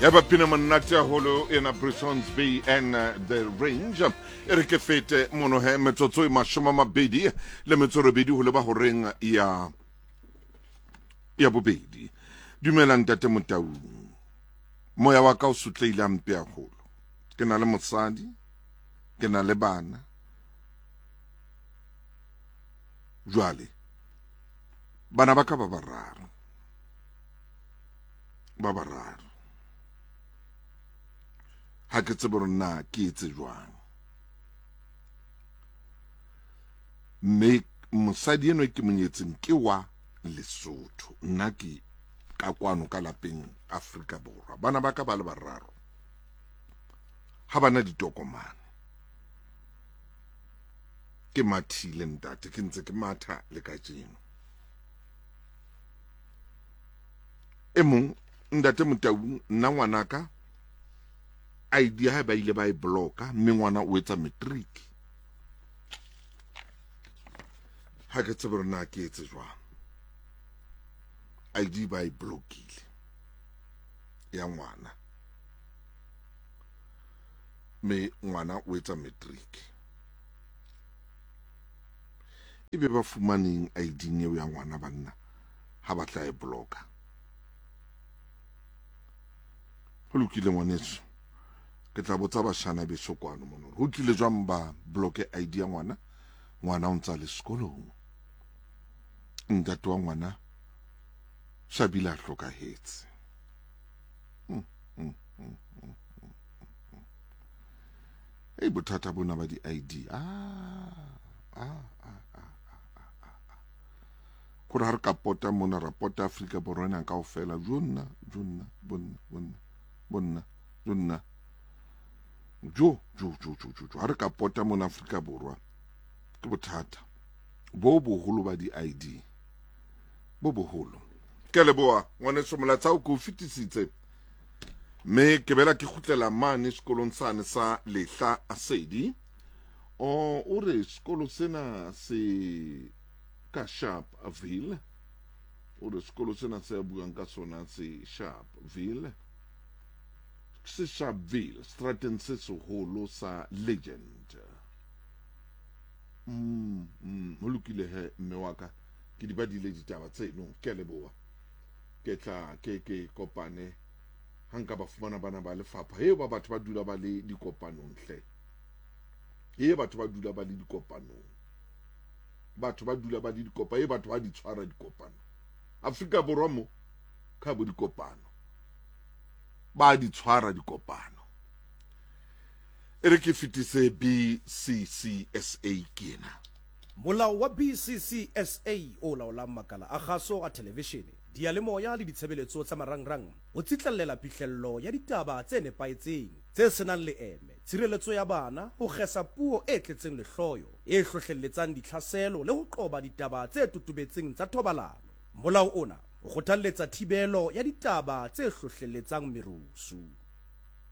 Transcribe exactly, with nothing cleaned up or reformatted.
Ya ba pina monate haholo ena, Brissons Bay and uh, the Range. E re ke fete mono he, metsotso e mashome a mabedi le metso e robedi ho leba horeng ya ya bobedi. Dumela ntate Motaung, moya wa ka o sotleile hampe haholo. Ke na le mosadi, ke na le bana. Jwale bana ba ka ba bararo, ba bararo, ha ke tsebe hore na ke etse jwang. Mme mosadi enwa ke monyetseng ke wa Lesotho, nna ke ka kwano ka lapeng Afrika Borwa. Bana ba ka ba le bararo ha bana ditokomane. Ke mathile ntate, ke ntse ke matha le kajeno. E mong ntate Motaung, nna ngwanaka I D ya hae ba ile ba e bloka, mme ngwana o etsa matric. Ha ke tsebe hore na ke etse jwang. I D ba e blokile ya ngwana, mme ngwana o etsa matric. Ebe ba fumaneng I D eo ya ngwana banna ha ba tla e bloka? Ho lokile ngwaneso, ke tla botsa bashana beso kwano mono ho tlile jwang ba bloke I D ya ngwana. Ngwana o ntsa le sekolong, ntate wa ngwana Shabile a hlokahetse. Mm, mm, mm, mm, mm. Ei, bothata bona ba di-I D. Ah, ah, ah, ah, ah, ah, ah. Kore ha re ka pota mona, ra pota Afrika Borwa ena kaofela. Jo nna, jo nna, bonna, bonna, bonna, jo nna. Jo, jo, jo, jo, jo, jo. Ha re ka pota mona Afrika Borwa, ke bothata bo boholo ba di-I D. Bo boholo. Ke leboha ngwaneso, molaetsa o ke o fetisitse. Mme ke bela ke kgutlela mane sekolong sane sa Lehla Asedi. O, o re sekolo sena se ka Sharpeville. O re sekolo sena se a buang ka sona se Sharpeville. Se Sharpeville, strateng se seholo sa Legend. Mm, mm, ho lokile he mme wa ka, ke di badile ditaba tseno. Ke a leboha. Ke tla ke ke kopane ha nka ba fumana bana ba lefapha. He ba batho ba dula ba le dikopanong hle. He batho ba dula ba le dikopanong. Batho ba dula ba le dikopa, he batho ba di tshwara dikopano. Afrika Borwa mo ka bo dikopano. Ba di tshwara dikopano. E re ke fetise B C C S A ke ena. Molao wa B C C S A o laolang makala a kgaso a thelevishene, diyalemoya le ditshebeletso tsa marangrang o tsitlallela phihlello ya ditaba tse nepahetseng, tse senang leeme, tshireletso ya bana, ho kgesa puo e tletseng lehloyo, e hlohlelletsang ditlhaselo le ho qoba ditaba tse totobetseng tsa thobalano. Molao ona o kgothalletsa thibelo ya ditaba tse hlohlelletsang merusu.